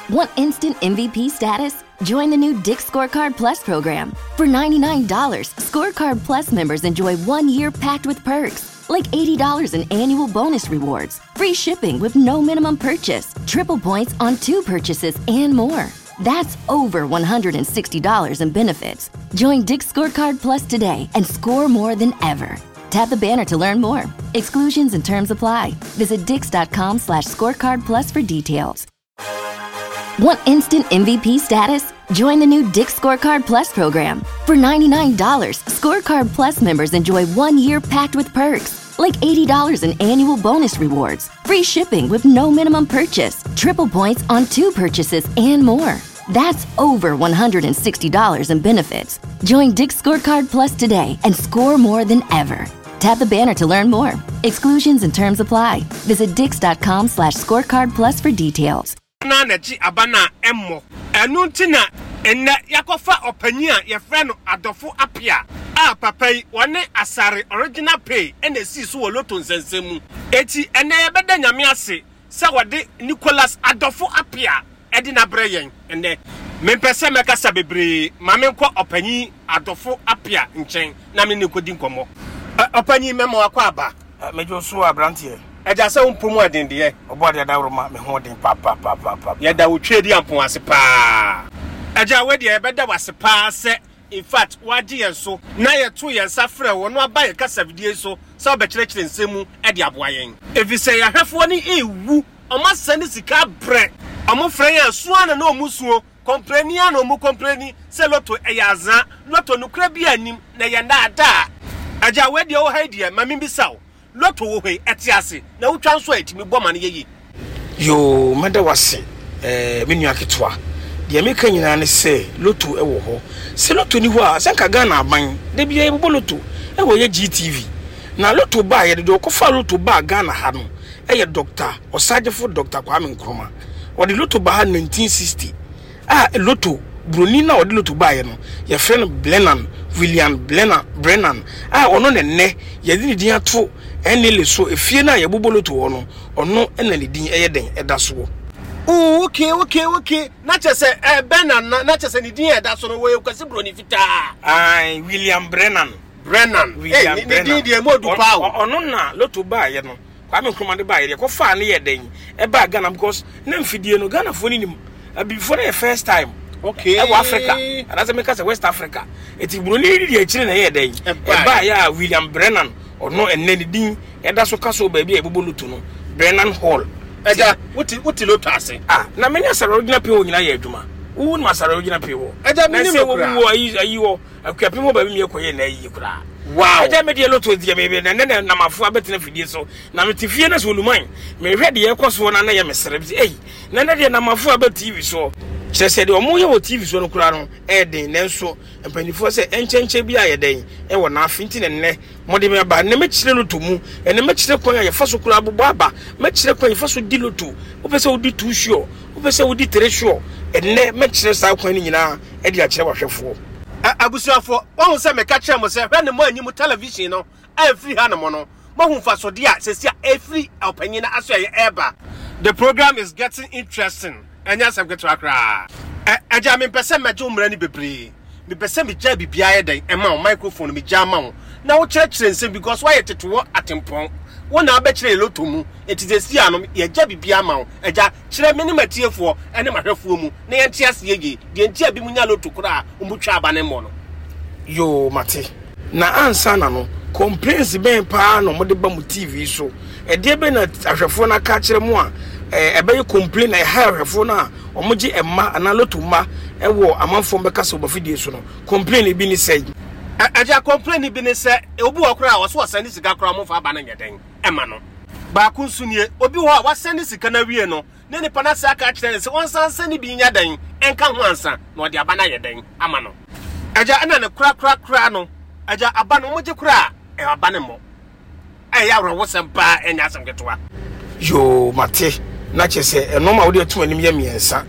Want instant MVP status? Join the new Dick's Scorecard Plus program. For $99, Scorecard Plus members enjoy 1 year packed with perks, like $80 in annual bonus rewards, free shipping with no minimum purchase, triple points on two purchases, and more. That's over $160 in benefits. Join Dick's Scorecard Plus today and score more than ever. Tap the banner to learn more. Exclusions and terms apply. Visit dicks.com/scorecard plus for details. Want instant MVP status? Join the new Dick's Scorecard Plus program. For $99, Scorecard Plus members enjoy 1 year packed with perks, like $80 in annual bonus rewards, free shipping with no minimum purchase, triple points on two purchases, and more. That's over $160 in benefits. Join Dick's Scorecard Plus today and score more than ever. Tap the banner to learn more. Exclusions and terms apply. Visit dicks.com/scorecard plus for details. Na n'akyi aba no a ɛmmɔ. Ɛno nti na nnɛ yɛakɔfa ɔpanyin a yɛfrɛ no Adɔfo Apia a papa yi wɔne Asare Original Pay na esii so wɔ Lotto nsɛnsɛm mu. Enti ɛnnɛ yɛbɛda Nyame ase sɛ wɔde Nicholas Adɔfo Apia de no abrɛ yɛn nnɛ. Mempɛ sɛ mɛkasa bebree, ma menkɔ ɔpanyin Adɔfo Apia nkyɛn na me ne no nkɔdi nkɔmmɔ. Ɔpanyin, mɛma wakɔ aba. Megye wo so aberanteɛ. Agya, sɛ wo mpo mu ɛden deɛ. Ɔbɔadeɛ adaworoma, me ho ɔden papapapaapa. Yɛda wo Tweediampɔn ase paa. Agya, wei deɛ yɛbɛda wo ase paa sɛ in fact woagye yɛn so na yɛtoo yɛn nsa frɛɛ wo na woaba yɛn kasafidie yi so sɛ wobɛkyerɛkyerɛ nsɛm mu de aboa yɛn. Efisɛ yɛn ahwɛfoɔ no rewu, wɔasɛne sika abrɛ, wɔfrɛ yɛn a, su ara na na wɔsuo, kɔmpleni ara na wɔkɔmpleni sɛ lotto ɛyɛ azaa, lotto nokorɛ biara nnim na ɛyɛ nnaadaa. Agya, wei deɛ wɔ ha yi deɛ, ma membisa wo, Lotto wɔ hɔ yi, ɛte ase, na wotwa nso a ɛtumi bɔ ma no yɛ yie. Yoo, mɛda wo ase eh, me nua ketewa. Deɛ meka nyinaa ne sɛ lotto wɔ hɔ. Sɛ lotto nni hɔ a, sɛ nka Ghana aban, da biara yɛbobɔ lotto wɔ yɛ GTV. Na lotto baeɛ no, deɛ ɔkɔfaa lotto baa Ghana ha no yɛ Dɔkta Ɔsagyefo Dɔkta Kwame Nkrumah. Ɔde lotto baa ha 1960. A Lotto, buroni no a ɔde lotto baeɛ no, yɛfrɛ no Blennan, William Blennan, Brennan, a ɔno na ɛnnɛ yɛde ne din ato Enele so, efie no a yɛbobɔ lotto wɔ no, ɔno na ne din yɛ dɛn ɛda soɔ. Ooh okay okay okay na kyerɛ sɛ eh, Brennan na na kyerɛ sɛ ne din a ɛda so no wɔyɛ Kwasi Broni fitaa. Ae, William Brennan. Brennan, William hey, ne Brennan. din deɛ mu odu paa o. Ɔno na lotto baeɛ no. Kwame Nkrumah de baeɛ deɛ kɔfaa no yɛ dɛn ɛbaa Ghana because na mfidie no Ghanafoɔ no nim abibifoɔ no yɛ first time okay ɛwɔ Africa anaasɛ meka sɛ West Africa eti buroni no di akyire na ɛyɛ dɛn ɛbaeɛ a William Brennan ɔno ɛnɛ ne din ɛda so ka so baabi a yɛbobɔ loto no Brennan Hall. Ɛgya wote wote loto ase. Ah na me ne Asare Ogyina Pii hɔ nyinaa yɛ adwuma wo nim Asare Ogyina Pii hɔ ɛgya me nim no koraa wɔ ayi ayi hɔ Akuapem hɔ baabi mi ɛkɔyɛ na ayi koraa. Wow. Ɛgya me deɛ lotto deɛ me na nɛ na namafo abɛtena fidie so na mete fie na sɛ oluman mehwɛ deɛ ɛkɔ soɔ na na yɛ mesere bi ei na nɛ deɛ namafo abɛ TV soɔ kyerɛ sɛ deɛ ɔmo yɛ wɔ TV soɔ no koraa no ɛyɛ den nanso mpanimfoɔ sɛ ɛnkyɛnkyɛn bi ayɛ dɛn ɛwɔ n'afe nti na nnɛ mode me aba nnɛ mɛkyerɛ lotto mu ɛnɛ mɛkyerɛ kwan a yɛfa so koraa bobɔ aba mɛkyerɛ kwan yɛfa so di lotto wopɛ sɛ wodi two sure wopɛ sɛ wodi three sure ɛnɛ mɛkyerɛ saa kwan no nyinaa ɛde akyerɛ wahwɛfoɔ. Abusuafoɔ, woahu sɛ meka kyerɛɛ mo sɛ, hwɛ ne moanyi mo television no amfiri hanom no, moahu mfasodeɛ a seesei a ɛfiri ɔpanyin no asoɛeɛ ɛreba. The program is getting interesting, ɛnyɛ asɛm ketewa koraa. Ɛ, agya, mempɛ sɛ mɛgye wo mmara no bebree. Mepɛ sɛ megyae biribiara yɛ dɛn ɛma wo, microphone no megyaa ma wo, na wokyerɛkyerɛ nsɛm because woayɛ tetewɔ atempɔn. Wo na wobɛkyerɛ yɛn lotto mu, enti seesei ano yɛagya biribiara ama wo. Agya, kyerɛ me ne m'atiefoɔ ne m'ahwɛfoɔ mu na yɛnte aseɛ yie deɛ nti a binom nya lotto koraa a wɔtwa aba no mmɔ no. Yoo mate. Na ansa na no, complaints bɛn paa na wɔde ba mo TV so? Ɛdeɛ bɛn na ahwɛfoɔ no aka akyerɛ mo a ɛbɛyɛ complain na ɛha ahwɛfoɔ no a wɔgye mma anaa lotto mma wɔ amanfoɔ bɛka sɛ wɔbafidie so no? Complain bi ne sɛn? Agya, complain bi ne sɛ obi wɔ koraa a ɔso ɔsɛnde sika koraa wɔmfa aba no nyɛ dɛn ɛma no. Baako nso nie, obi wɔ hɔ a wasɛnde sika no awie no, na nipa no asan aka akyerɛ no sɛ ɔnsan nsɛnde bi nyɛ dɛn nka ho ansa na ɔde aba no ayɛ dɛn ama no. Agya, ɛna ne korakorakora no, agya, aba no wɔgye koraa a, aba no mmɔ. Ɛyɛ awerɛhosɛm paa, ɛnyɛ asɛm ketewa. Yoo, mate. Na kyerɛ sɛ nnoɔma a wode ato m'anim yɛ mmiɛnsa.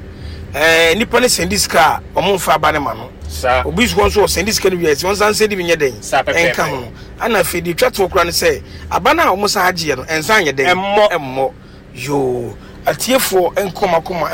Ɛɛ, nipa no sɛndi sika a, wɔmfa aba no ma no. Saa. Obi nso hɔ nso ɔsɛndi sika no wie a, sɛ ɔnsan nsɛndi bi nyɛ dɛn? Saa pɛpɛɛpɛ. Ɛnka ho. Ɛna afei deɛ ɛtwa toɔ koraa ne sɛ, aba no a wɔsan agyeɛ no, ɛnsan nyɛ dɛn? Ɛmmɔ. Ɛmmɔ. Yoo, atiefoɔ nkɔ m'akoma.